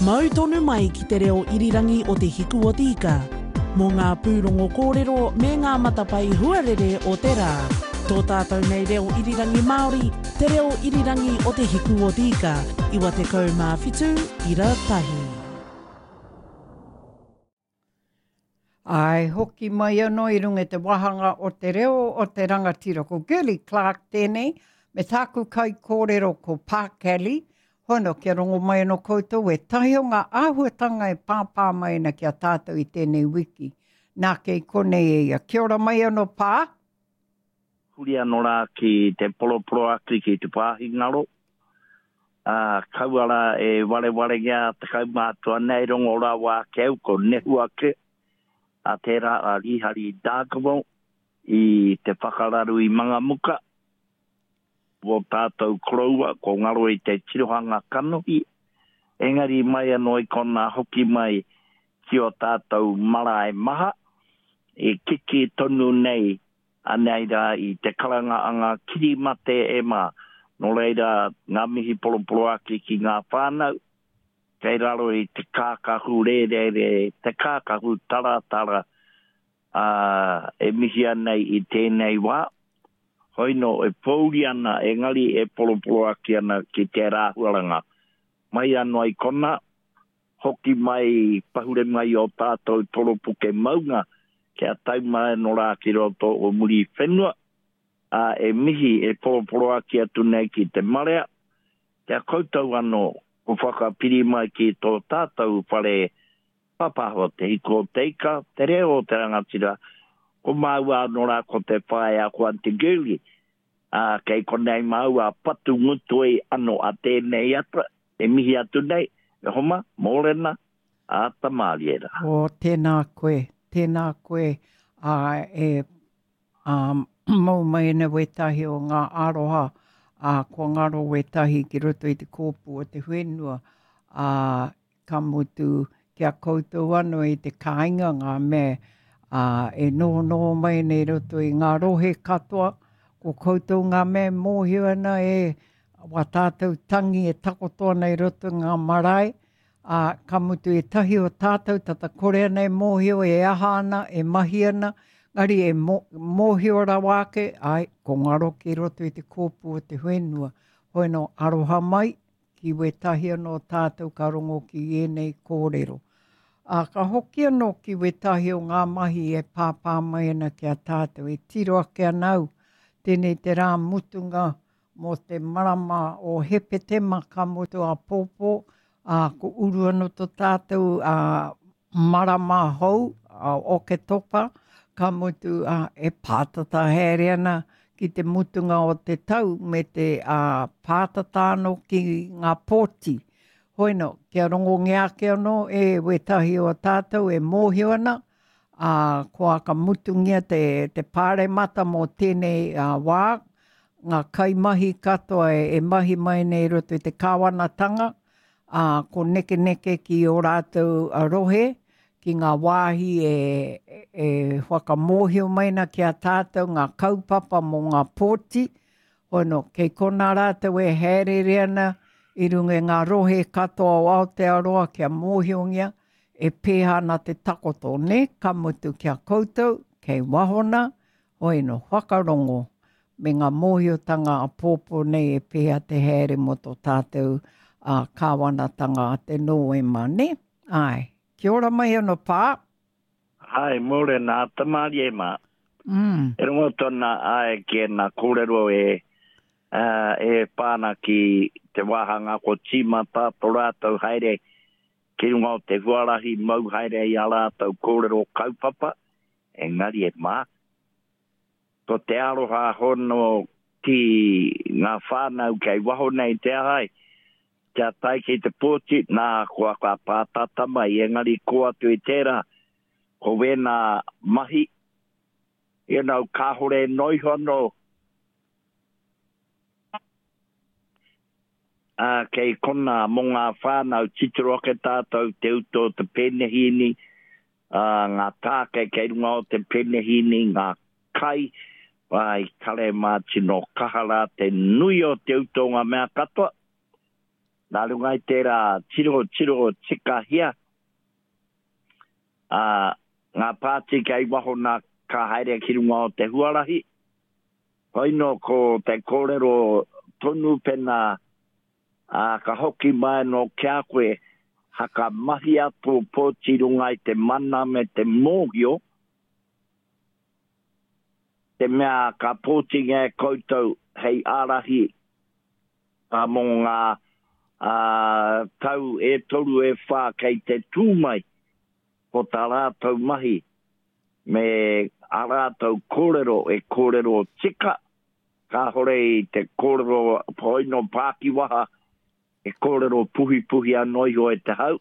Mau tonu mai ki te reo irirangi o Te Hiku o Te Ika mō ngā pūrongo kōrero me ngā matapae huarere o te rā. Tō tātou nei reo irirangi Māori, te reo irirangi o Te Hiku o Te Ika, 97 ira tahi. Āe, hoki mai anō i runga i te wāhanga o te reo o te rangatira. Ko Girlie Clark tēnei, me tāku kaikōrero ko Pā Kelly. Hono, kia rongo mai anō koutou ētahi o ngā āhuatanga e pāpā mai ana ki a tātou i tēnei wiki. Nā, kei konei e ia. Kia ora mai anō, Pā. Huri anō rā ki te poroporoaki ki te wāhi ngaro, ā, kaua rā e warewarengia te kaumātua nei rongo rawa ake au ko nehu ake a tērā a Rīhari Dargaville i te whakararu i Mangamuka, wō tātou koroua ko ngaro i te tirohanga kanohi, engari mai anō i konā hoki mai ki ō tātou marae maha, e kiki tonu nei anei rā i te karanga a ngā kirimate e mā. Nō reira, ngā mihi poroporoaki ki ngā whānau, kei raro i te kākahu rērere, te kākahu taratara, ā, e mihia nei i tēnei wā. Hoi nō, e pōuri ana, engari e poroporoaki ana ki tērā āhuaranga. Mai anō i konā, Hoki mai, pahure mai ō tātou toropuke maunga kia tau mai anō rā ki roto o Muriwhenua, ā, e mihi, e poroporoaki atu nei ki te marea, ki a koutou anō, ko whakapiri mai ki tō tātou whare papaho, Te Hiku o Te Ika, Te Reo o Te Rangatira, ko māua anō rā ko te whaea ko Aunty Girlie, ā, kei konei māua patu ngutoi anō a tēnei ata, E mihi atu nei, e homa, mōrena, āta mārie rā. Oh, tēnā koe, tēnā koe, ā, e, ā, mau mai ana wētahi o ngā aroha, ā, kua ngaro wētahi ki roto i te kōpū o te whenua, ā, ka mutu ki a koutou anō i te kāinga ngā mea, ā, e nohonoho mai nei i roto i ngā rohe katoa, ko koutou ngā mea e mōhio ana e wā tātou tangi e takoto ana i roto i ngā marae, ā, ka mutu ētahi o tātou tata kore ana e mōhio e aha ana, e mahi ana, engari e mōhio rawa ake, āe, ko ngaro ki roto i te kōpū o te whenua. Hoi nō, aroha mai ki wētahi anō tātou ka rongo ki ēnei kōrero. Ā, ka hoki anō ki wētahi o ngā mahi e pāpā mai ana ki a tātou, e tiro ake ana au, tēnei te rā mutunga mō te marama o Hepetema ka mutu āpōpō, ā, ko uru anō tō tātou ā, marama hou, a Oketopa, ka mutu ā, e pātata haere ana ki te mutunga o te tau me te ā, pātata anō ki ngā pōti. Hoi nō, kia rongongia ake anō e wētahi o tātou e mōhio ana, ā, kua ka mutungia te, te pāremata mō tēnei ā, wā, ngā kaimahi katoa e, e mahi mai nei i roto i te kāwanatanga, ā, ko nekeneke ki ō rātou rohe, ki ngā wāhi e, e whakamōhio mai ana ki a tātou ngā kaupapa mō ngā pōti, hono, kei konā rātou e hāereere ana i runga i ngā rohe katoa o Aotearoa kia mōhiongia e pēhea ana te takoto, nē, ka mutu ki a koutou, kei waho nā, Hoi no, whakarongo me ngā mōhiotanga āpōpō nei e pēhea te haere mō tō tātou ā, kāwanatanga a te Nōema, nē? Āe. Kia ora mai anō, Pā. Āe, mōrena, āta mārie mā. Mm. E rongo tona āe ki ēnā kōrero e, ā, e pā ana ki te wāhanga ko tīmata tō rātou haere ki runga o te huarahi mau haere i ā rātou kōrero kaupapa, Engari e mā, ko te aroha hono ki ngā whānau kei waho nei te ahai, kia tae ki te pōti, nā, kua ka pātata mai, engari kō atu i tērā, ko wēnā mahi, you know, kāhore noa iho anō, ā, kei konā mō ngā whānau, titiro ake tātou te utu o te pēnehīni, ā, ngā tāke kei runga o te penehīni, ngā kai, ā, i kare mā tino kaha rā te nui o te utu o ngā mea katoa. Nā runga i tērā tirotiro tikahia, ā, ngā pāti kei waho nā ka haere ki runga o te huarahi. Hoino ko te kōrero tonu pena, ā, ka hoki mai anō ki a koe, haka mahia tō pōti runga i te mana me te mōhio, te mea ka pōtingia e koutou hei ārahi mō ngā tau e toru e whā kei te tū mai, ko tā rātou mahi me ā rātou kōrero e kōrero tika, kāhore i te kōrero hoino pākiwaha, e kōrero puhipuhi anō iho e te hau.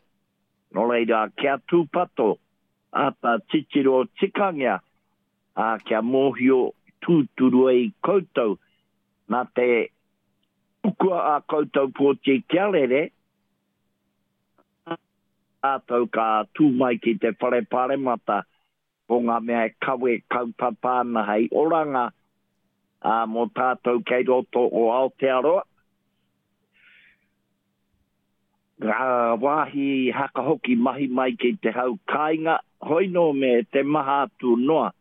Nō reira, kia tūpato, āta titiro tikangia, ā, kia mōhio tūturu ai koutou nā te tukua ā koutou pōti kia rere, rātou ka tū mai ki te Whare Pāremata ko ngā mea e kawe kaupapa ana hei oranga ā, mō tātou kei roto o Aotearoa. Ngā wāhi haka hoki mahi mai ki te hau kāinga, hoino me te maha atu noa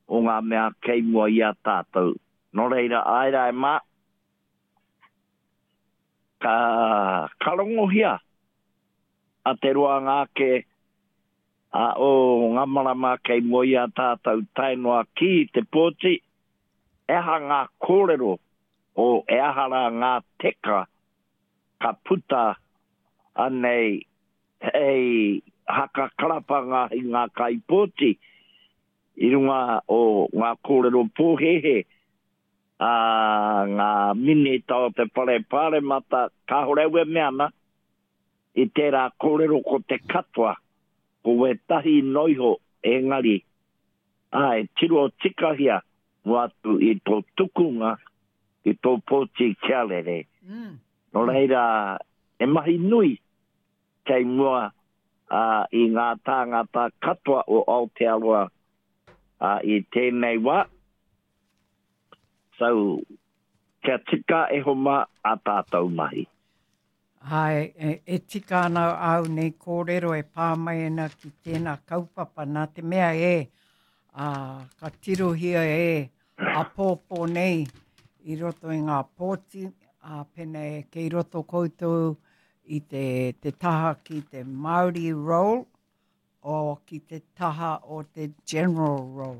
o ngā mea kei mua i a tātou. Nō reira, āe rā e mā, ka, ka rongohia a te roanga ake a o ngā marama kei mua i a tātou tae noa ki te pōti, e aha ngā kōrero o e aha rā ngā teka ka puta anei hei haka karapanga i ngā kaipōti i runga o ngā kōrero pōhēhē a ngā minita o te Whare Pāremata, kāore au e mea ana i tērā kōrero ko te katoa, ko wētahi noa iho, engari, āe, tiro tikahia noa atu i tō tukunga, i tō pōti kia rere. Nō reira, he mahi nui kei mua i ngā tāngata katoa o Aotearoa i tēnei wā. So, kia tika e homa a tātou mahi. Āe, e tika ana āu nei kōrero e pā mai ana ki tēnā kaupapa, nā te mea e, ā, ka tirohia e āpōpō nei i roto i ngā pōti, ā, pēnā e kei roto koutou i te, te taha ki te Māori roll, o ki te taha o te general roll.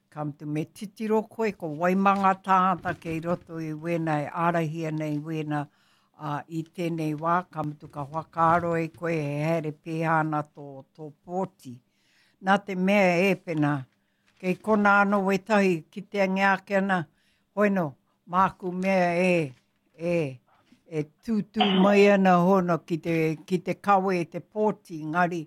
Ka mutu me titiro koe ko wai mā ngā tāngata kei roto i wēnā e ārahi ana i wēnā ā, i tēnei wā, ka mutu ka whakaaro e koe e haere pēhea ana tō, tō pōti. Nā te mea e pena, kei kona anō wētahi kiteangia ake ana, hoeno, māku mea e, e, e tūtū mai ana hono ki te, ki te kawe i te pōti, engari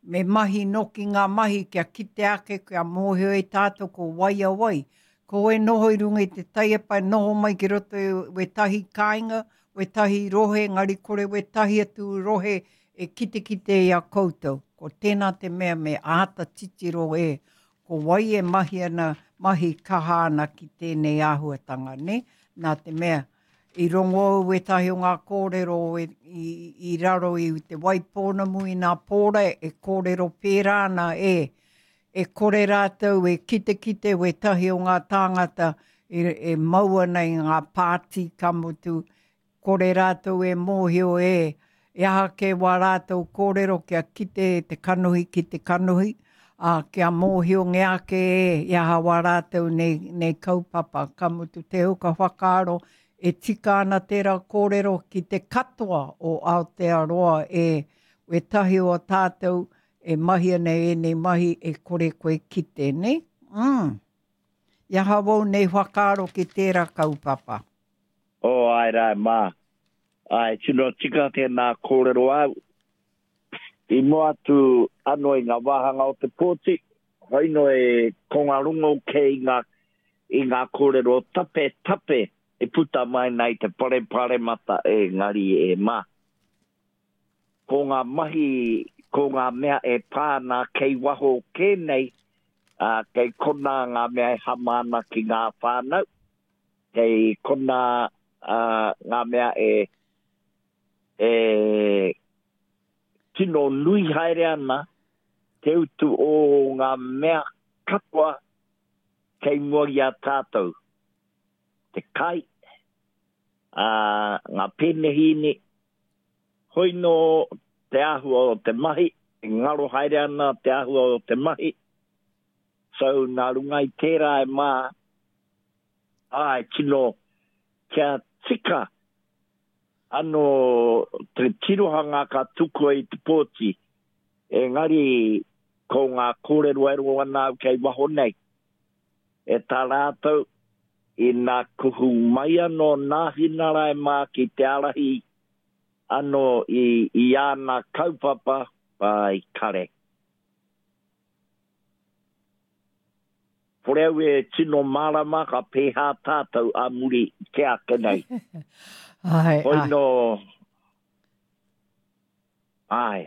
me mahi noki ngā mahi kia kite ake, kia mōhio e tātou ko wai a wai. Ko e noho i runga i te taiepa, e noho mai ki roto i wētahi kāinga, wētahi rohe, engari kore wētahi atu rohe e kitekite i a koutou. Ko tēnā te mea me āta titiro e, ko wai e mahi ana, mahi kaha ana ki tēnei āhuatanga, nē? Nā te mea, i rongo au wētahi o ngā kōrero i, i, i raro i Te Waipounamu i nā pōra e kōrero pērā ana e, e kore rātou e kitekite wētahi o ngā tāngata e, e mau ana i ngā pāti ka mutu, Kore rātou e mōhio e, e aha kē wā rātou kōrero kia kite te kanohi ki te kanohi, ā, kia mōhiongia ake e, i aha wā rātou nei, nei kaupapa. Ka mutu te huka whakaaro e tika ana tērā kōrero ki te katoa o Aotearoa e, wētahi o tātou e mahi ana i ēnei mahi e kore koe kite, nē? Mm. I aha wou nei whakaaro ki tērā kaupapa? Oh, āe rā, e mā. Āe, tino tika tēnā kōrero āu. I mua atu anō i ngā wāhanga o te pōti, hoino e ko ngā rongo kē i ngā, i ngā kōrero tapetape e puta mai nei i te whare paremata engari e mā. Ko ngā mahi, ko ngā mea e pā ana kei waho kē nei, ā, kei konā ngā mea e hama ana ki ngā whānau. Kei konā ngā mea e E tino nui haere ana te utu o ngā mea katoa kei mua i a tātou. Te kai, ā, ngā pēnehīni, hoi nō te āhua o te mahi, e ngaro haere ana te āhua o te mahi, so nā runga i tērā e mā, āe tino kia tika anō te tirohanga ka tukua i te pōti, engari ko ngā kōrero e rongo ana au kei waho nei, e tā rātou, ina kuhu mai anō Nāhinara e mā ki te ārahi anō i, i āna kaupapa, pai kare. Kore au e tino mārama ka pēhā tātou a muri kē ake nei. Āe, Hoi āe. nō, āe.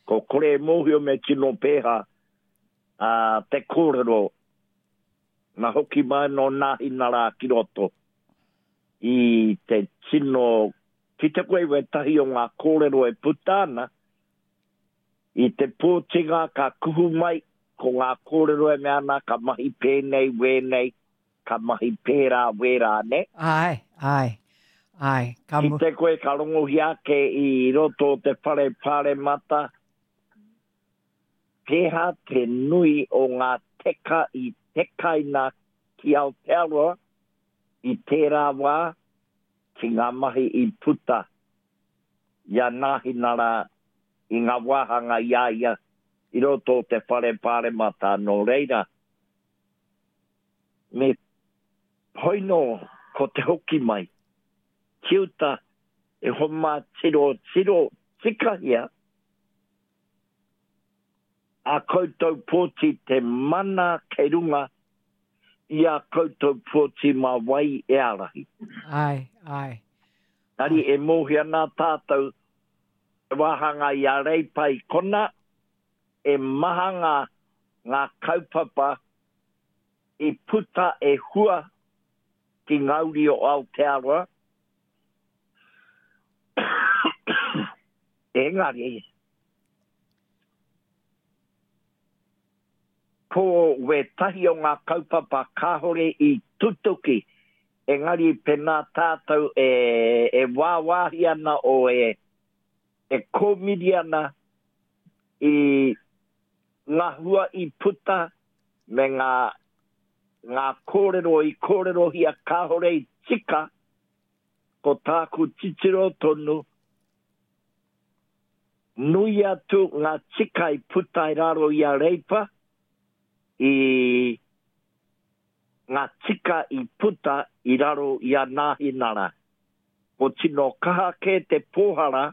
Ko kore e mōhio me tino pēhā ā, te kōrero na hoki mai nō Nāhinara ki roto i te tino kite koe i wētahi o ngā kōrero e puta ana, I te pōtinga ka kuhu mai ko ngā kōrero e mea ana ka mahi pēnei wēnei, ka mahi pērā wērā, nē? Āe, āe, āe, ka mu. Kite koe ka rongohia ake i roto o te whare pāremata, pēhā te nui o ngā teka i tekaina ki Aotearoa i tērā wā ki ngā mahi i puta i a Nāhinara i ngā wāhanga i a ia i roto o te Whare Pāremata, nō reira, me hoi nō ko te hoki mai ki uta e homa tirotiro tikahia a koutou pōti te mana kei runga i a koutou pōti mā wai e ārahi. Āe, āe. Engari e mōhio ana tātou te wāhanga i a Reipa i kona, e maha ngā, ngā kaupapa i puta e hua ki ngā uri o Aotearoa. Engari, ko wētahi o ngā kaupapa kāore i tutuki, engari pēnā tātou e, e wāwāhi ana o e, e kōmiri ana i ngā hua i puta me ngā, ngā kōrero i kōrerohia kāore i tika, ko tāku titiro tonu, Nui atu ngā tika i puta i raro i a Reipa i ngā tika i puta i raro i a Nāhinara. Ko tino kaha kē te pōhara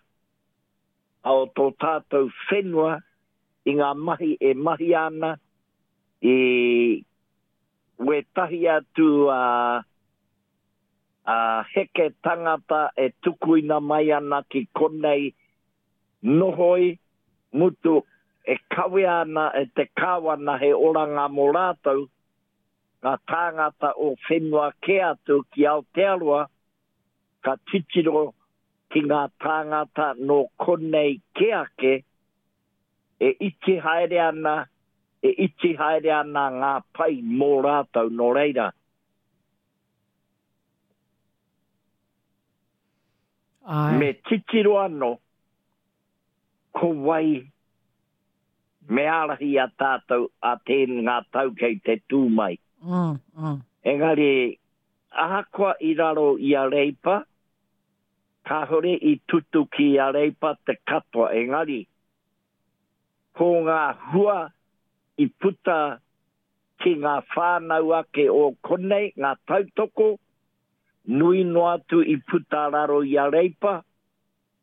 o tō tātou whenua i ngā mahi e mahia ana i wētahi atu a Ā, heke tangata e tukuina mai ana ki konei nohoi, mutu, e kawea ana e te Kāwana he oranga mō rātou, ngā tāngata o whenua kē atu ki Aotearoa, ka titiro ki ngā tāngata nō konei kē ake, e iti haere ana, e iti haere ana ngā pai mō rātou, nō reira. Āe. Me titiro anō ko wai me ārahi i a tātou a tēn ngā tau kei te tū mai. Mm, mm. Engari, ahakoa i raro i a Reipa, kāore i tutuki i a Reipa te katoa, engari, ko ngā hua i puta ki ngā whānau ake o konei, ngā tautoko, nui noa atu i puta raro i a Reipa,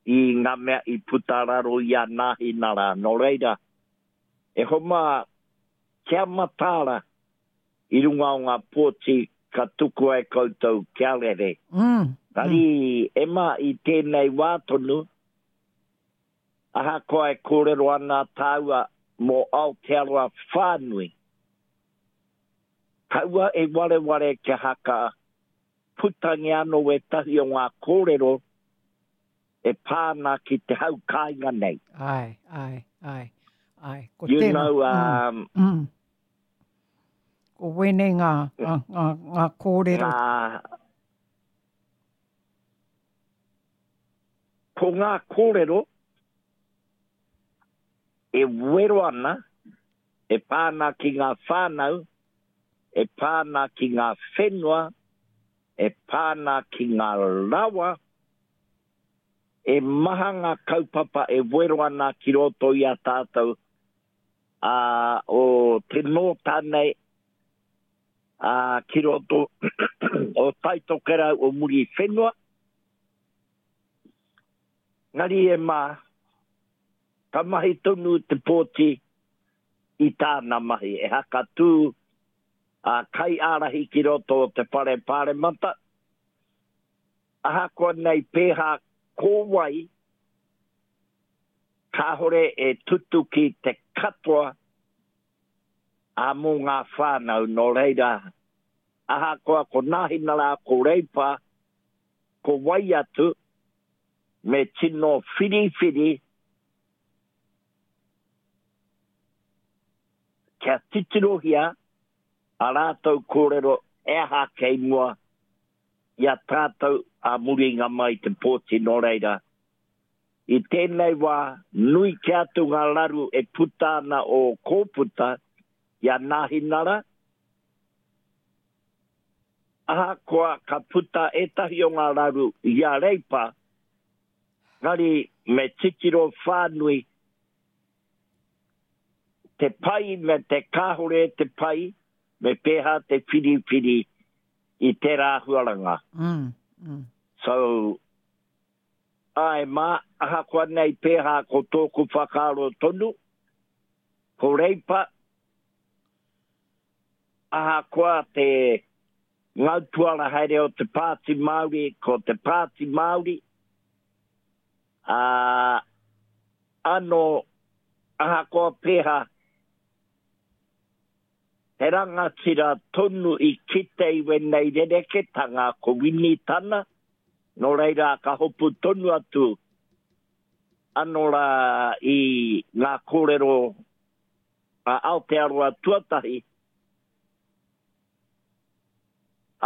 i ngā mea i puta raro i a Nāhinara. Nō reira, e homa kia mataara i runga o ngā pōti ka tukua e koutou kia rere. Engari, Emma, i tēnei wā tonu, Ahakoa e kōrero ana tāua mō Aotearoa whānui, kaua e wareware kia haka putangia anō wētahi o ngā kōrero E pā ana ki te hau kāinga nei. Āe, āe, āe, āe. Ko you tēnā. know, um, mm, mm. Ko wēnei ngā, ngā, ngā, ngā kōrero. Ngā, ko ngā kōrero e wero ana, e pā ana ki ngā whānau, e pā ana ki ngā whenua, e pā ana ki ngā rawa, e maha ngā kaupapa e wero ana ki roto i a tātou, ā, o te nōta nei, ā, ki roto o Taitokerau o Muriwhenua. Ngari e mā, ka mahi tonu te pōti i tāna mahi, e hakatū a kaiārahi ki roto o te Whare Pāremata, ahakoa nei pēhā ko wai, kāore e tutuki te katoa ā mō ngā whānau, nō reira, ahakoa ko Nāhinara, ko Reipa, ko wai atu, me tino whiriwhiri kia titirohia a rātou kōrero he aha kei mua i a tātou ā muringa mai te pōti nō reira, i tēnei wā nui kē atu ngā raru e puta ana o Kōputa i a Nāhinara, ahakoa ka puta ētahi o ngā raru i a Reipa, engari me titiro whānui te pai me te kāore te pai, me pēhā te whiriwhiri i tērā āhuaranga. Mm, mm. So, āe mā, ahakoa nei pēhā ko tōku whakaaro tonu, ko Reipa, ahakoa te ngautuara haere o te Pāti Māori, ko te Pāti Māori, ā, anō, ahakoa pēhā, he rangatira tonu i kite i wēnei rereketanga ko Winitana, nō reira ka hopu tonu atu anō rā i ngā kōrero a Aotearoa tuatahi,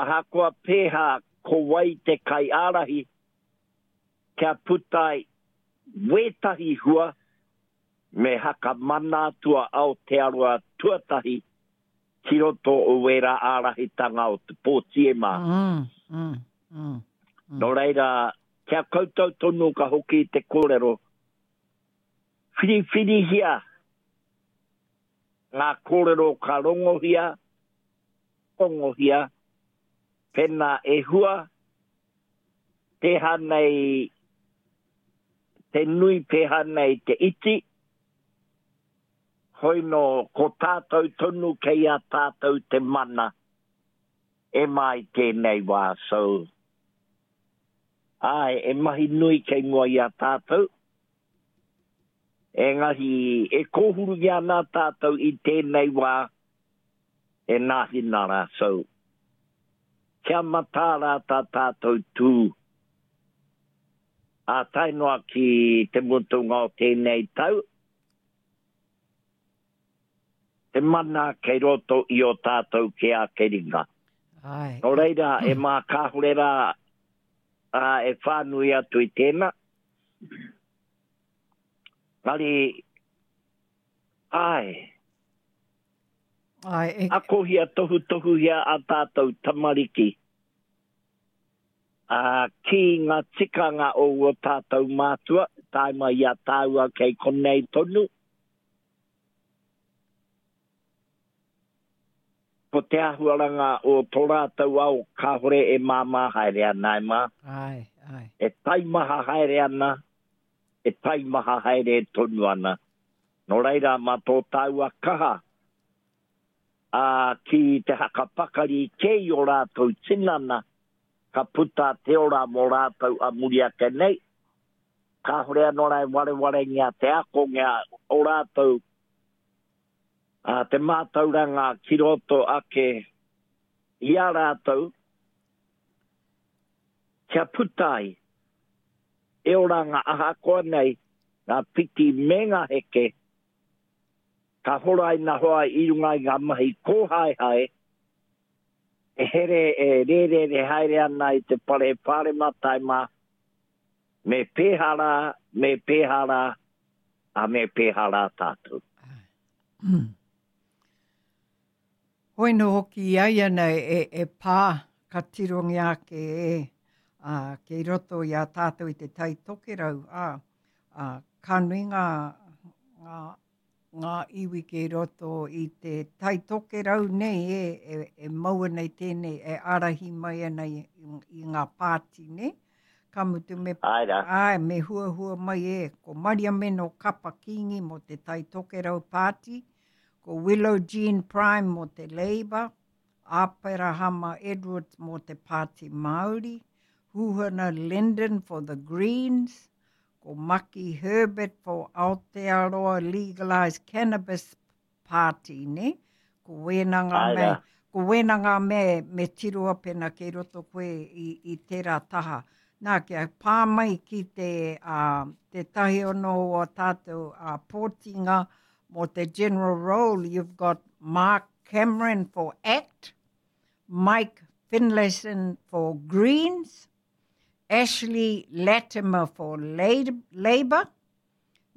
ahakoa pēhā ko wai te kaiārahi, kia puta ai wētahi hua me haka mana atu a Aotearoa tuatahi ki roto o wērā ārahitanga o te pōti e mā. Mm, mm, mm, mm. Nō reira, kia koutou tonu ka hoki te kōrero, whiriwhirihia ngā kōrero ka rongohia, rongohia, pēnā e hua, pēhā nei te nui, pēhā nei te iti, hoi nō ko tātou tonu kei a tātou te mana e mā i tēnei wā, so, āe, e mahi nui kei mua i a tātou, engari e kōhurungia ana tātou i tēnei wā e Nāhinara, so, kia mataara tā tātou tū, ā, tae noa ki te mutunga o tēnei tau, te mana kei roto i ō tātou kē ake ringa. Āe. Nō reira, e mā kāore rā, ā, e whānui atu i tēnā. Engari, āe. Āe, e... Akohia, tohutohuhia ā tātou tamariki, ā, ki ngā tikanga o ō tātou mātua, tae mai i a tāua kei konei tonu. Ko te āhuaranga o tō rātou ao kāore e māmā haere ana, e mā. Āe, āe. E taimaha haere ana, e taimaha haere tonu ana. Nō reira, mā tō tāua kaha, ā, ki te hakapakari kē i ō rātou tinana, ka puta te ora mō rātou a muri ake nei. Kāore anō rā e warewarengia te akongia o rātou, ā, te mātauranga ki roto ake i a rātou, kia puta ai. e oranga ahakoa nei ngā piki me ngā heke, ka horaina hoa i runga i ngā mahi kōhaehae, e here e rērere haere ana i te whare pāremata e mā, me pēhā rā, me pēhā rā, ā, me pēhā rā tātou. Hoi nō hoki i a ia nei e, e pā, ka tirongia ake e, ā, kei roto i a tātou i te Tai Tokerau, ā, ā, ka nui ngā, ngā, ngā iwi kei roto i te Tai Tokerau nei e, e, e mau ana i tēnei, e ārahi mai ana i, i, i ngā pāti nei. Ka mutu me, Āe rā. āe, me huahua mai e, ko Mariameno Kapa Kingi mō te Tai Tokerau Pāti, Ko Willow Jean Prime mō te Labour, Aperahama Edwards mō te Pāti Māori, Huhana Lyndon for the Greens, ko Maki Herbert for Aotearoa Legalised Cannabis Party, nē? Ko wēnā ngā mea, ko wēnā ngā mea me tiroa pena kei roto koe i, i tērā taha. Nā, kia pā mai ki te, uh, tētahi ono o tātou uh, pōtinga Mō te general role, you've got Mark Cameron for ACT, Mike Finlayson for Greens, Ashley Latimer for Labour,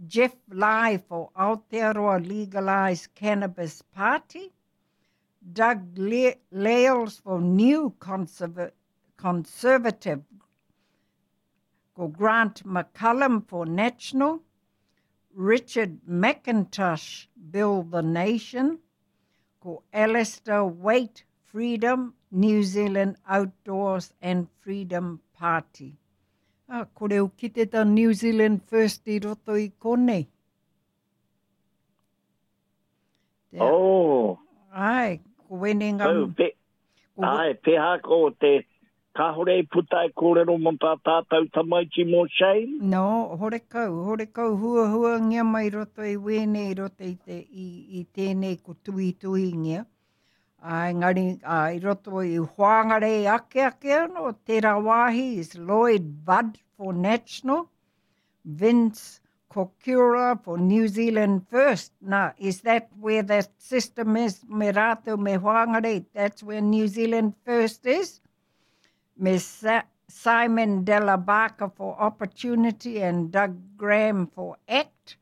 Jeff Lai for Aotearoa Legalised Cannabis Party, Doug Le Lales for New Conserva Conservative, ko Grant McCallum for National, Richard McIntosh, Build the Nation, ko Alistair Waite, Freedom, New Zealand Outdoors and Freedom Party. Ah, kore u kite ta New Zealand First i roto i konei. Te, oh. Ai, ko wene ngā... Oh, pe, ko, ai, peha ko te... Kāhore i puta e kōrero mō tā tātou tamaiti mō Shane? No, horekau, horekau huahuangia mai roto i wēnei, roto i, te, i, i tēnei ko tuhituhingia. Ā, engari, ā, i roto i Whangarei ake ake anō, tērā wāhi is Lloyd Budd for National, Vince Kokura for New Zealand First. Now, is that where that system is? Me rātou, me Whangarei, that's where New Zealand First is? Me Sa Simon Della Barker for Opportunity and Doug Graham for ACT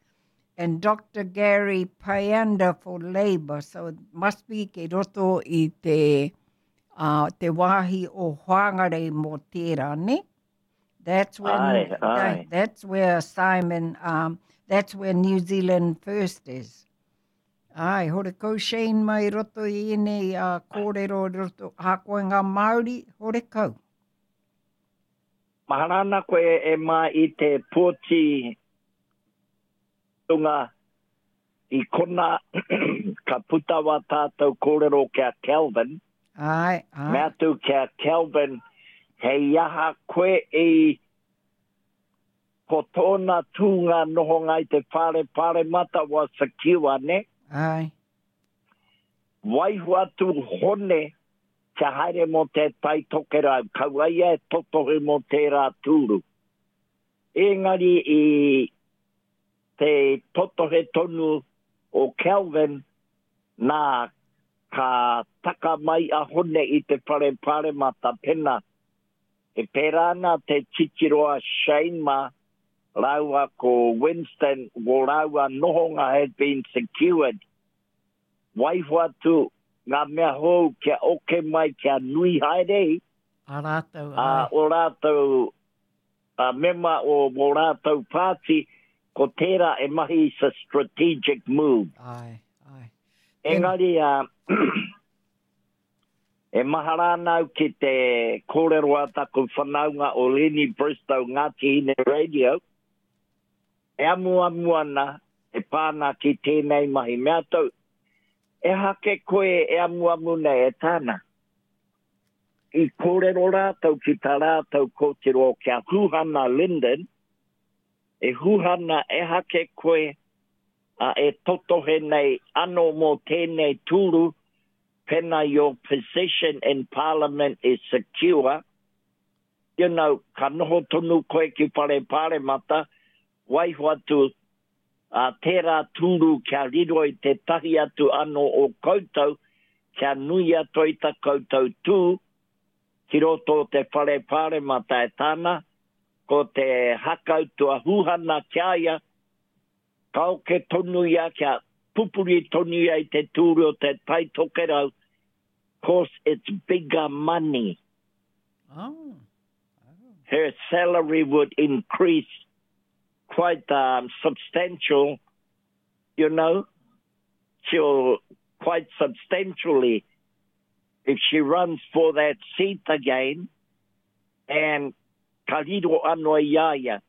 and Dr. Gary Payanda for Labour. So it must be ke roto i te, uh, te wāhi o Whangarei mō tērā, ne? That's where, aye, aye. that's where Simon, um, that's where New Zealand First is. Ai, hore kau Shane mai roto i ēnei uh, kōrero roto, hakoe ngā Māori, hore kau. Mahara ana koe e mā i te pōti runga i kona ka puta wā tātou kōrero ki a Kelvin. Āe, āe. Mea atu ki a Kelvin, hei aha koe i ko tōna tūnga nohonga i te whare paremata was secure, ne? Āe. Waiho atu Hone kia haere mō te Tai Tokerau, kaua ia e totohu mō tērā tūru. Engari i te totohe tonu o Kelvin, nā, ka taka mai a Hone i te whare paremata pena e pērā ana te titiro a Shane mā rāua ko Winston wō rāua nohonga had been secured. Waiho atu ngā mea hou kia oke mai kia nui haere i. A rātou, ai. Ā, o rātou a mema o wō rātou pāti, ko tērā e mahi is a strategic move. Āe, āe. Engari, a, e mahara ana au ki te kōrero a taku whanaunga o Lenny Bristow Ngāti Hine Radio, e amuamu ana e pā ana ki tēnei mahi. Mea atu, ehake koe e amuamu nei, e tāna. I kōrero rātou ki tā rātou kōtiro ki a Huhana Lyndon, E Huhana, ehake koe a e totohe nei ano mō tēnei tūru, pena your position in Parliament is secure, You know, ka noho tonu koe ki Whare Pāremata, waiho atu a tērā tūru kia riro i tētahi atu anō o koutou, kia nui atu ai ta koutou tū ki roto o te Whare Pāremata e tāna, ko te hakau tua Huhana ki a ia, ka oke tonu ia kia pupuri tonu ia i te tūru o te Tai Tokerau, course it's bigger money. Oh. Her salary would increase quite um, substantial, you know, she'll quite substantially if she runs for that seat again and ka riro anō i a ia,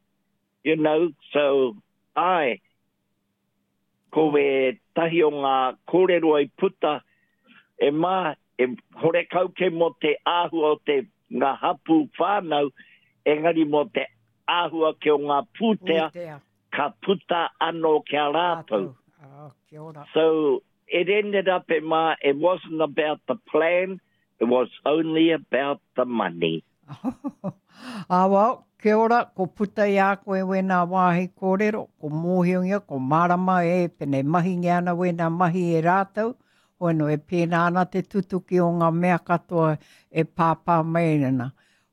you know, so ai, ko wētahi o ngā kōrero i puta e mā, e horekau ke mō te āhua o te ngā hapū whānau, engari mō te āhua ke o ngā pūtea, pūtea. ka puta anō ki a rātou. Oh, kia ora. So it ended up e mā, it wasn't about the plan, it was only about the money. Ā, well, kia ora, ko puta i a koe wēnā wāhi kōrero, ko mōhiongia, ko mārama e, pēnei mahingia ana wēnā mahi e rātou, hoeno e pēnā ana te tutuki o ngā mea katoa e pāpā mai ana.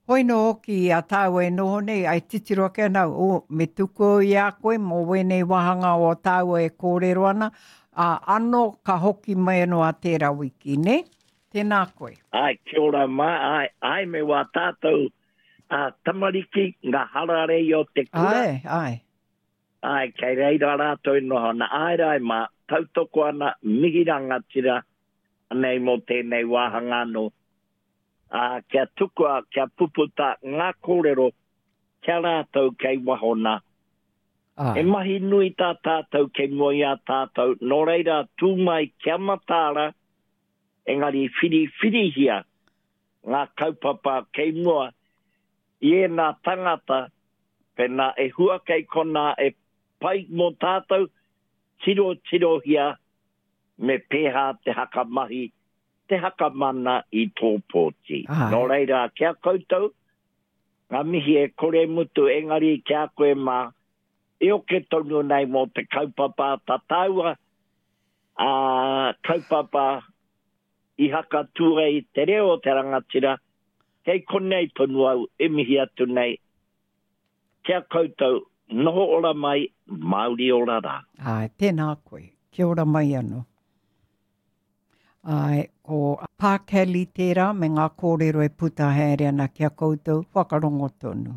Hoeno hoki i a tāua e noho nei, ai titiro ake ana au, oh, me tuku au i a koe mō wēnei wāhanga o tāua e kōrero ana, ā, ano ka hoki mai anō a tērā wiki, nē? Tēnā koe. Āe, kia ora mā, āe, āe me wā tātou ā, tamariki, ngā hararei o te kura. Āe, āe. Āe, kei reira rātou e noho ana. Āe rā e mā, tautoko ana, mihi rangatira, anei mō tēnei wāhanga anō. Ā, kia tukua, kia puputa ngā kōrero ki a rātou kei waho nā. Āe. He mahi nui tā tātou kei mua i a tātou, nō reira tū mai kia mataara, engari whiriwhirihia ngā kaupapa kei mua i ēnā tangata, pēnā e hua kei konā e pai mō tātou, tirotirohia me pēhā te hakamahi, te hakamana i tō pōti. Nō reira, ki a koutou, ngā mihi e kore mutu, engari ki a koe mā, e oke tonu nei mō te kaupapa a tā tāua, ā, kaupapa i hakatū ai te reo o te rangatira, kei konei tonu au e mihi atu nei ki a koutou, noho ora mai, Māori ora rā. Āe, tēnā koe. Kia ora mai anō. Āe, ko Pā Kelly tērā me ngā kōrero e puta haere ana ki a koutou, whakarongo tonu.